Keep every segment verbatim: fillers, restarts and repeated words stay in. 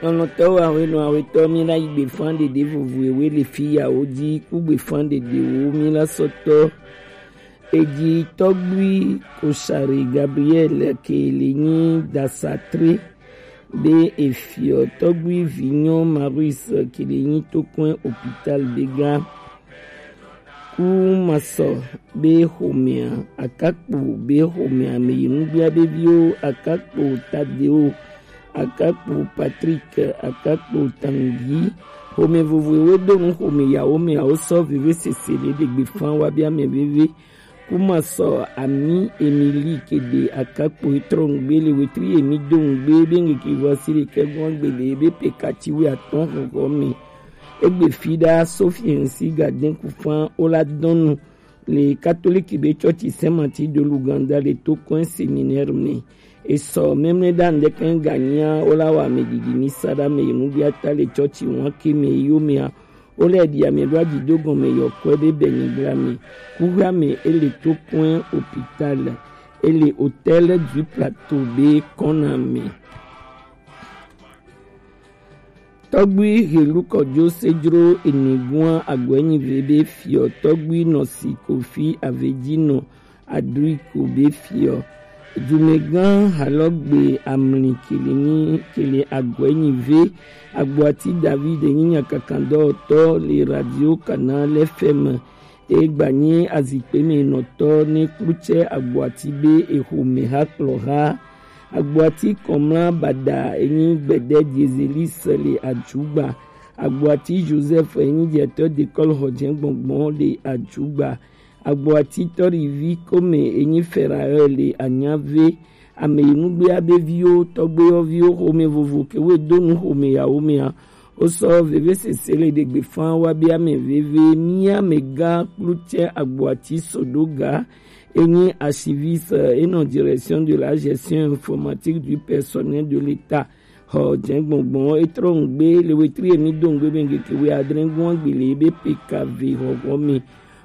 Lɔlɔ̃tɔwo, ahwenɔ, ahwetɔ, mi la yi gbefan ɖeɖe vovo ewe le fi yawo ji ku gbefan ɖeɖewo mi la sɔtɔ. Eji tɔgbui Koshari Gabriel ke le nyi dasatre be efiɔ tɔgbui vinyɔ Maurice ke le nyi tokɔn hôpital be ga. Ku masɔ be xomea, akakpo be xomea, me yi nugbia be viwo, akakpo Tadeo, akakpo Patrick, akakpo Tangi. Xome vovovowo do nu xome yawo me awo sɔ veve sese le ɖe gbe fan wa bia me veve. Ku masɔ ami Emily ke de akakpo etrɔ ngbe le wetri emi do ngbe be ngeke vɔ si le kɛgbɔn gbe le be pe kati wi atɔn xɔxɔ me. Egbe fi ɖa Sophie ŋsi gadɛn kufan wo la dɔn nu le katoliki be tsɔtsi Saint Martin de l'Ouganda le to kɔn séminaire me. Esɔ mɛmlɛ ɖa ŋdɛkɛn ganyia wo la wa me didi mi sa ɖa me yi nugbia ta le tsɔtsi wan ke me yo mea. Wo lɛ ɖi ame ɖo aɖi do gɔme yɔ kɔe be bɛ nyigla me. Kuhua me ele to kɔn hôpital, ele hôtel du Plateau be kɔna me. Tɔgbui Helu Kɔjo Sejro Enigua Agɔɛnyive be fiɔ tɔgbui nɔ si Kofi Avedinɔ Adriko be fiɔ. Dumɛgan Halɔgbe Amli kele nyi kele Agɔɛnyive Agboati David nyi nyakakandɔtɔ le radio Canal F M. Egba nyi azikpe me nɔtɔ ne klutsɛ Agboati be exome ha kplɔ ha. Agboati Kɔmla Bada enyi gbɛdɛ Diezelis le Ajugba. Agboati Joseph enyi directeur d'école Xɔjɛ gbɔngbɔn le Ajugba. Agboati Tɔrivi Kome enyi Ferael le Anyave. Ame yi nugbea be viwo, tɔgbewo viwo, xome vovo ke wo do nu xome yawo mea. Wo sɔ veve sese le ɖe gbe fan wa be ame veve mia me ga klutsɛ Agboati Sodoga. Enyi archiviste, enɔ direction de la gestion informatique du personnel de l'État. Xɔ jɛngbɔngbɔn etrɔ ŋgbe le wetri emi do ŋgbe be ŋgeke we adre ŋgɔn gbe le be P K V xɔxɔ me.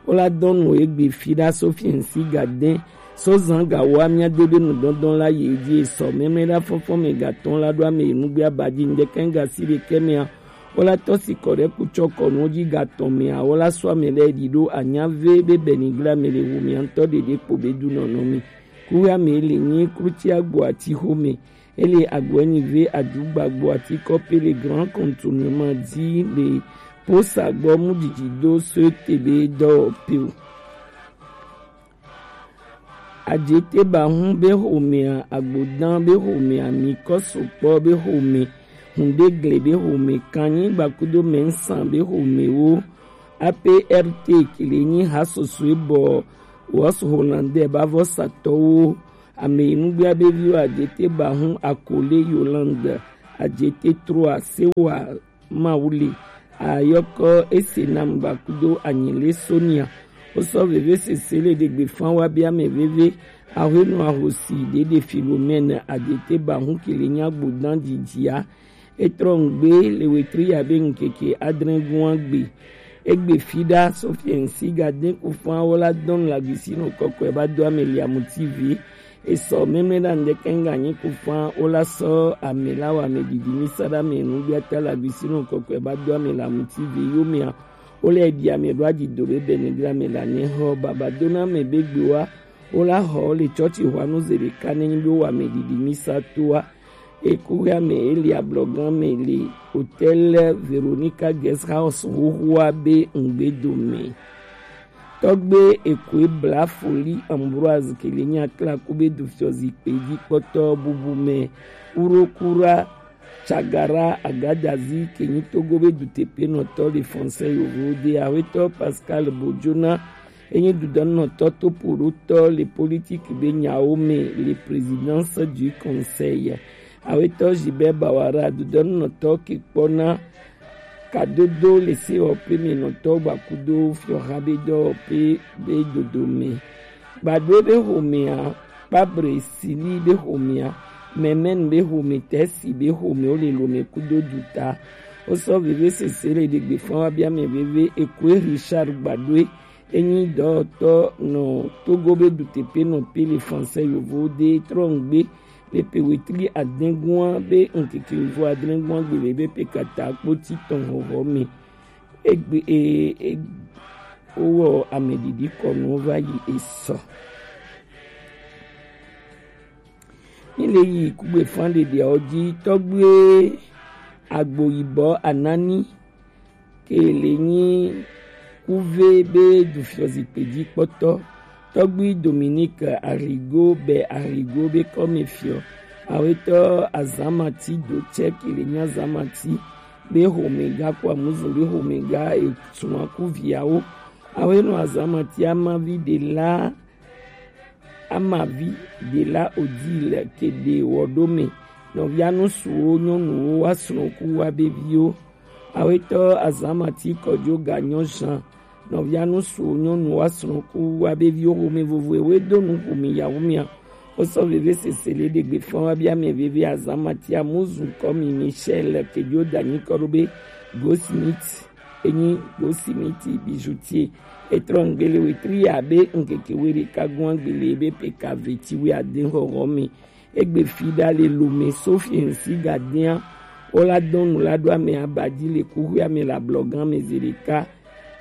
Wo la dɔn nu egbe fi ɖa so fiɛnsi ga dɛn so zan ga wa mia de be nu dɔndɔn la yi edzi esɔ mɛmlɛ ɖa fɔfɔ me ga tɔn la ɖo ame yi nugbe aba dzi ŋdɛkɛ ŋga si ɖekɛ mea. Wo la tɔ si kɔ ɖe kutsɔ kɔnu dzi ga tɔn mea wo la sɔ ame lɛ ɖi ɖo anya ve be bɛni gble ame le wu mia ŋutɔ ɖeɖe kpo be du nɔnɔ mi. Kuwe ame le nyi klutsi agbo ati xome. Ele agbo enyi ve adugba agbo ati kɔpe le grand contournement dzi le posa gbɔ mu didi do so te be dɔwɔpe o. Adjeteba hun be xomea, agbodan be xomea, mi kɔsokpɔ be xome, hundegle be xome, kannyigba kudo mɛnsan be xomewo, A P R T kele nyi ha sosoe bɔ Wɔs Holandɛ ba vɔsatɔwo, ame yi nugbea be viwo Adjeteba hun Akole Yolande, Adjete Troa Sewa Mawuli, ayɔkɔ ese nam gbakudo anyele Sonia. Wosɔ veve sese le ɖegbe fan wa be ame veve, ahwenu ahosi ɖeɖe Filomene Adjeteba hun kele nyi agbodan didia. Etrɔ ŋgbe le wetri ya be ŋkeke adre gua gbe. Egbe fi ɖa Sofiɛnsi ga de ku fan wo la dɔn la gisi no kɔkɔe ba do ame le amuti vi. Esɔ mɛmlɛ ɖa ŋdɛkɛ ŋga nyi ku fan wo la sɔ ame la wa ame didi mi sa ɖa ame nu bia ta la gisi no kɔkɔe ba do ame la amuti vi yo mea. Wo le ɖi ame ɖo aɖi do be bɛnɛ ɖi ame la ne xɔ baba do na ame be gbe wa. Wo la xɔ le tsɔtsi xɔanu ze ɖeka ne nyi be wo ame didi mi sa to wa. Eku ya me Elia blɔgan me le hôtel Veronica Guest House xoxoa be ŋgbedo me. Tɔgbe Ekoe Bla Foli Ambroise kele nya kla ku be du fiɔ zikpe dzi kpɔtɔ bubu me. Kuro kura Tsagara Agadazi ke nyi Togo be duteƒenɔtɔ le Français yovo de, Awetɔ Pascal Bojona enyi dudɔnɔtɔ topoɖotɔ le politique be nyawo me le Présidence du Conseil. Awetɔ Gilbert Bawara dudɔnɔtɔ ke kpɔna kadodo le sewɔƒe me nɔtɔ gbakudo fiɔha be dɔwɔƒe be dodome. Gbadue be xomea, Kpabre Sili be xomea, Mɛmɛn be xome, Tɛsi be xome wo le lome kudo duta. Wosɔ veve sese le ɖegbe fan wa bia mɛ veve Ekoe Richard Gbadue enyi dɔwɔtɔ nɔ Togo be duteƒenɔtɔ le Français yovo de trɔ ŋgbe le pe wetri adɛngua be ŋkeke vo adrɛngua gbele be pe kata kpoti tɔn hɔhɔ me. Egbe e e owɔ amedidi kɔnu va yi esɔ. Ni le yi kugbe fan ɖeɖea wo ji tɔgbe agbo yibɔ anani ke le nyi kuve be dufiɔzikpe ji kpɔtɔ tɔgbi Dominique Arrigo be Arrigo be kɔme fiɔ awetɔ azamati do tsɛ ke le nyi azamati be homega ko amuzu be homega etunwa kuviawo awenɔ azamati amavi de la amavi de la odi le kede wɔ ɖo me nɔvia nusuwo nyɔnuwo wa srɔ̃ ku wa be viwo. Awetɔ azamati kɔjo ganyɔ zan nɔvia nusuwo nyɔnu wa srɔ̃ ku wa be viwo home vovo ewe do nu home yawo mia. Wosɔ veve sese le ɖegbe fɔn wa bia mɛ veve azamati amuzu kɔ mi Michel kejo danyi kɔ ɖo be Goldsmith enyi Goldsmith bijoutier etrɔ ŋgbele wetri ya be ŋkeke we ɖeka gɔn agbele be peka veti we ade hɔhɔ me. Egbe fi ɖa le lome Sofiensi gadea wola dɔn nu la ɖo ame aba ji le kuxoe ame le ablɔgan me zi ɖeka.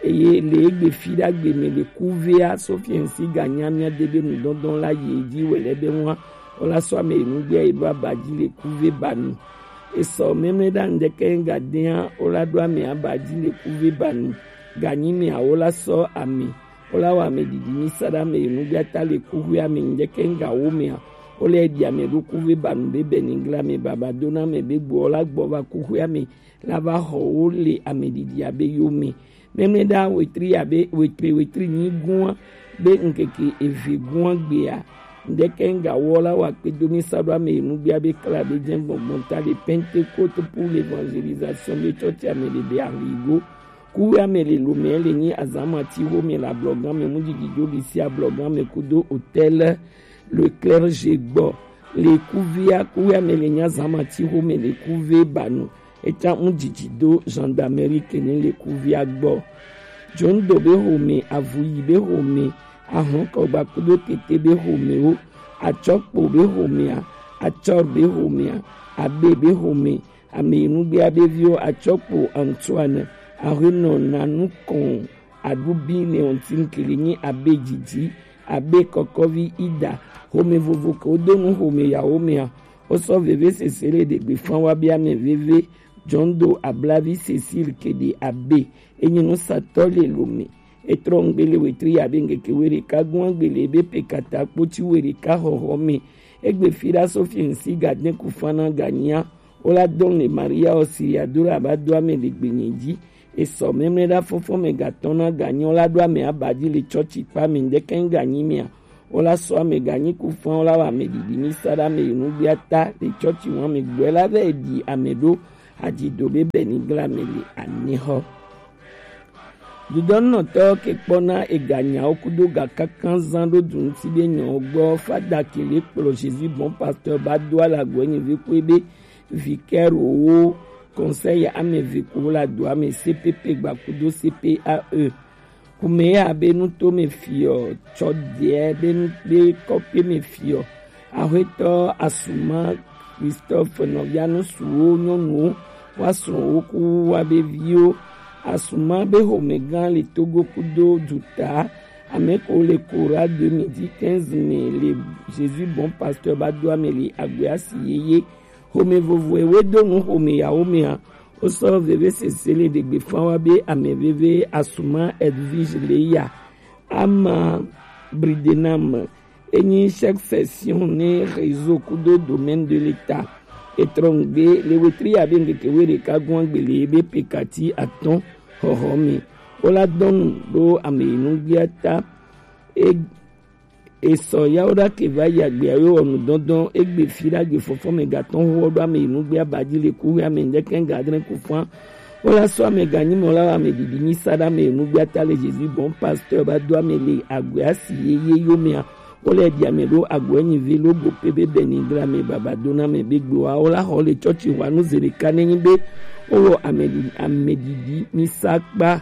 Eye le egbe fi ɖa gbe me le kuvea Sofiensi ganya mia de be nudɔndɔn la yi edzi wele be ŋua wola sɔ ame enugbea yi ɖo aba ji le kuve ba nu. Esɔ memle ɖa ŋdɛkɛ gadea wola ɖo ame aba ji le kuve ba nu. Ganyi me awo la sɔ ame Wola wɔ ame ɖiɖi mi sa ɖe ame yi nugbiata le kuxoea me ŋdɛkɛ ŋga wo mea, wola yi ɖi ame ɖo kuxoe ba nu be bɛ nigla me baba do na ame be gbɔ wola gbɔ va kuxoea me la va xɔ wo le ame ɖiɖi abe yo me. Mɛmɛ ɖa wetri abe wetri wetri nyi gua be ŋkeke eve gua gbea, ŋdɛkɛ ŋga wo la wɔ akpe do mi sa ɖo ame yi nugbia be kla be jɛ gbɔngbɔn ta le Pentecôte pour l'évangélisation be tsɔtsi ame ɖe be ahigo. Kuwe ame le lome le nyi azamati wo me le ablɔgan me mu didi jo lisi ablɔgan me kudo hôtel Le Clergé gbɔ. Le kuvea kuwe ame le nyi azamati wo me le kuve ba nu. Eta mu didi do gendarmerie kene le kuvea gbɔ. Jondo be home, avuyi be home, ahɔnkɔgba kudo tete be home wo, atsɔkpo be homea, atsɔr be homea, abe be home, Ame yi nugbea be viwo Atsɔkpo Antoine, Ahenɔ Nanukɔn, Aɖubi Leontine ke le nyi abe didi, abe kɔkɔvi Ida, home vovo ke wodo nu home yawo mea, wosɔ veve sese le ɖegbe fan wa be ame veve, Jondo Ablavi Cécile ke ɖe abe, enyi nusatɔ le lome. Etrɔ ŋgbe le wetri ya be ŋkeke we ɖeka gɔn agbele be pe kata kpoti we ɖeka hɔhɔ me. Egbe fi ɖa Sophie ŋsi ga de ku fana ga nyia. Wola dɔn le Maria Auxiliadora ba do ame le gbenye ji. Esɔ mɛmlɛ ɖa fɔfɔ me ga tɔn na ga nyɔ la ɖo ame aba ji le tsɔtsi kpa me ŋdɛkɛ ŋga nyi mea. Wola sɔ ame ga nyi ku fan wola wa ame ɖiɖi mi sa ɖe ame yi nugbia ta le tsɔtsi ŋu ame gbɔe la vɛ ɖi ame ɖo aji do be bɛ ni gla me le anexɔ. Dudɔnɔtɔ ke kpɔna ega nyawo kudo ga kankan zan ɖo du ŋuti be nyɔwo gbɔ fada ke le kplɔ Jésus bon pasteur ba do ala gɔe nyi ve kue be vicaire wo conseil ame ve ko la do ame C P P gba kudo C P A E. Kume ya be nuto me fiɔ tsɔ deɛ be nu be kɔpe me fiɔ. Axwetɔ Asuma Christophe nɔvia nusuwo nyɔnuwo wa srɔ̃wo ku wa be viwo. Asuma be homegã le Togo kudo duta. Ame ko le Kora deux mille quinze me le Jésus bon pasteur ba do ame le agbe asi yeye. Home vovoe we do nu home yawo mea. Wosɔ veve sese le ɖegbe fan wa be ame veve Asuma Edwige le ya. Ama Bridenam enyi chaque session ne réseau kudo domaine de l'État. Etrɔ ŋgbe le wetri ya be ŋkeke we ɖeka gɔn agbele be pekati atɔn hɔhɔ me. Wola dɔn nu ɖo ame yi nugbia ta. E Esɔ yawo ɖa ke va yi agbea yo wɔ nu dɔndɔn egbe fi ɖa gbe fɔfɔ me ga tɔn hɔ ɖo ame yi nugbia ba ji le ku ame ŋdɛkɛ ga adre ku fan. Wola sɔ ame ga nyi mɔ la wa ame ɖiɖi nyi sa ɖe ame yi nugbia ta le Jésus bon pasteur ba do ame le agbe asi yeye yo mea. Wola ɖi ame ɖo agbe nyi ve lo go pe be bɛ ni gla me baba do na me be gbe wa wola xɔ le tsɔtsi wa nu ze ɖeka ne nyi be wowɔ ame ɖi ame ɖiɖi mi sa kpa.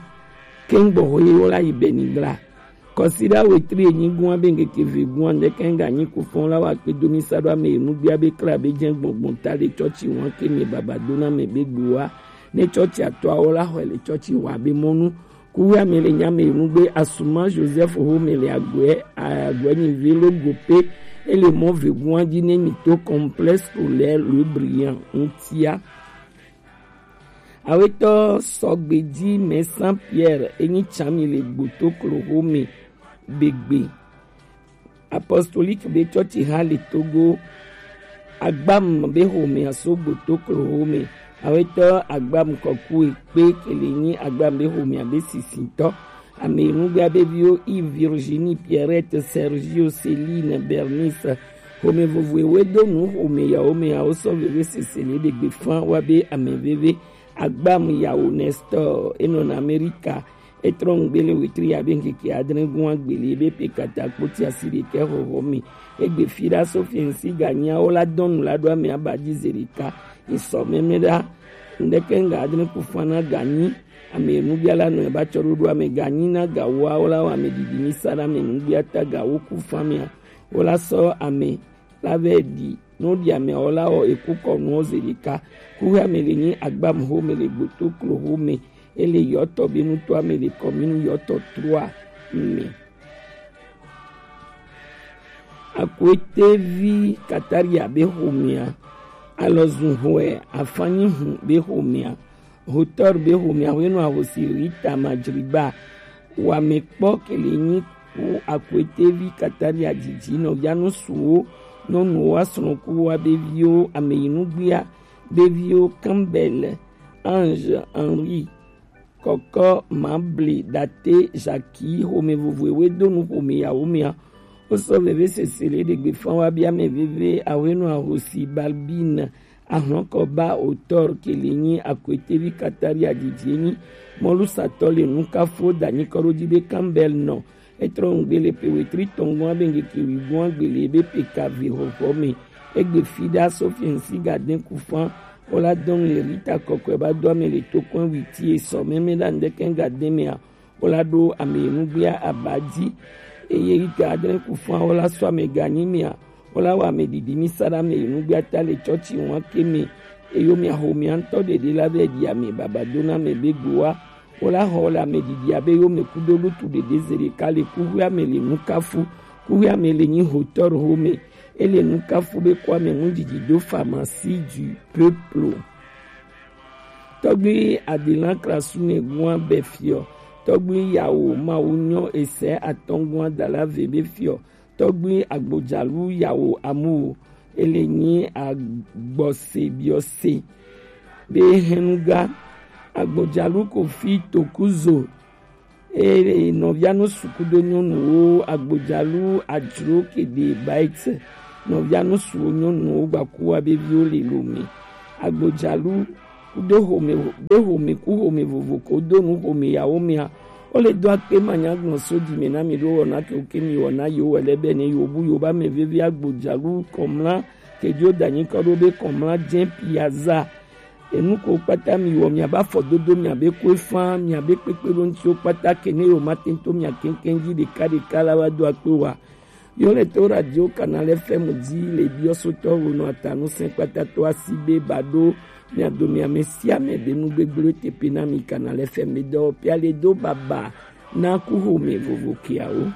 Kɛŋgbɔ xɔ ye wola yi bɛ ni gla. Kɔsiɖa wetri enyigun abe ŋkeke vegun andɛkɛn ganyi kufɔn la wa kpe domi sa ɖo ame enu gbia be kla be jɛn gbɔngbɔn ta le cɔci wan ke mi baba dona mɛ be gboa ne cɔci atɔawo la xɔe le cɔci wa be mɔnu. Kuwe ame le nya me enu gbe asuma Joseph ho me le agbɛ agbɛ nyi velo gope ele mɔ vegun aji ne mi to complexe scolaire Le Brillant ŋutia. Awetɔ sɔgbeji mɛ Saint Pierre enyi tsami le gbotoklo home begbe. Apostolique be cɔci ha le Togo. Agbam be home aso gbotoklo home. Awetɔ agbam kɔku ekpe kele nyi agbam be home abe sisitɔ. Ame enugbea be viwo Yves, Virginie, Pierrette, Sergio, Céline, Bernice. Home vovo ewe do nu home yawo me awo sɔ veve sese le ɖegbe fan wa be ame veve. Agbam yawo Nestor enɔna Amerika. Etrɔ ŋugbe le wetri abe ŋkeke adre gún agbeli ebe pe kata kpoti asi ɖekɛ hɔhɔ me. Egbe fi ɖa so fi ŋsi ganyiawo la dɔnu la ɖo ame aba ji ze ɖeka. Esɔ mɛmɛ ɖa. Ŋdɛkɛ ŋga adre ku fana ganyi. Ame enugbia la nɔ eba tsɔ ɖoɖo ame ganyi na gawoawo la wɔ ame didi mi sa ɖa ame enugbia ta gawo ku famia. Wo la sɔ ame la vɛ ɖi. No ɖi ame awo la wɔ eku kɔ nuwo ze ɖeka. Kuhe ame le nyi agbam home le gbotoklo home. Ele yɔtɔ be nuto ame le commune yɔtɔ trois me. Akwete vi Kataria be homea. Alɔzun hɔɛ afanyi hun be homea. Hotor be homea hwenu ahosi Rita Majriba. Wamekpɔ kele nyi ku Akwete vi Kataria dzidzi nɔvia nusuwo nyɔnuwo asrɔ̃kuwo abe viwo ame yi nugbia be viwo Campbell, Ange, Henri, Kɔkɔ, Mable, Date, Jackie, home vovo ewe do nu home yawo mea. Wo sɔ veve sese le ɖegbe fan wa bia ame veve ahwenu ahosi Balbine. Ahlɔkɔ ba auteur kele nyi Akwete vi Kataria dzidzi nyi mɔlusatɔ le nukafo danyi kɔ ɖo ji be Campbell nɔ. Etrɔ ŋugbe le pe wetri tɔngɔn abe ŋkeke wigun agbeli ebe pe ka vi hɔhɔ me. Egbe fi ɖa so fi ŋsi gaden kufan. Wo la dɔn le Rita kɔkɔe ba do ame le tokɔn witi esɔ mɛmɛ ɖa ŋdɛkɛ gaden mea. Wo la ɖo ame enugbea aba ji. Eye Rita adre kufan wo la sɔ ame ganyi mea. Wo la wɔ ame didi mi sa ɖa ame enugbea ta le cɔci wan ke me. Eyo mea ho mea ŋutɔ ɖeɖe la vɛ ɖi ame baba do na ame be gboa. Wo la xɔ le ame didi abe yo me kudo lutu ɖeɖe ze ɖeka le kuxuea me le nukafu. Kuxuea me le nyi hotɔr home. Ele nukafu be kɔ ame ŋu didi do pharmacie du peuple. Tɔgbi Adelan Krasu ne gua be fiɔ. Tɔgbi yawo mawu nyɔ ese atɔngua dala ve be fiɔ. Tɔgbi agbodzalu yawo amuwo. Ele nyi agbɔse biɔse. Be henuga agbodzalu kofi tokuzo. Eye nɔvia nusu kudo nyɔnuwo agbodzalu adzro kede bait nɔvia nusuwo nyɔnuwo gbakuwa be viwo le lo me. Agbodzalu kudo home be home ku home vovo ko do nu home yawo mea. Wo le do akpe manya gblɔ so dzi me na mi ɖo wɔna ke wo ke mi wɔna yewo wɔ le be ne yewo bu yewo ba me veve agbodzalu kɔmla ke dzo danyi kɔ ɖo be kɔmla dze piaza. Enu ko kpata mi wɔ mia ba fɔ dodo mia be ko efa mia be kpekpe ɖo ŋuti wo kpata ke ne yewo ma te to mia keŋkeŋ dzi ɖeka ɖeka la wa do akpe wa. Yo le to radio Canal F M dzi le biɔsotɔ wo nɔ atanu sɛn kpata to asi be ba ɖo mia do mia me sia me be nu gbegblẽ tepe na mi Canal F M be dɔ pia le do baba na ku home vovo kiawo.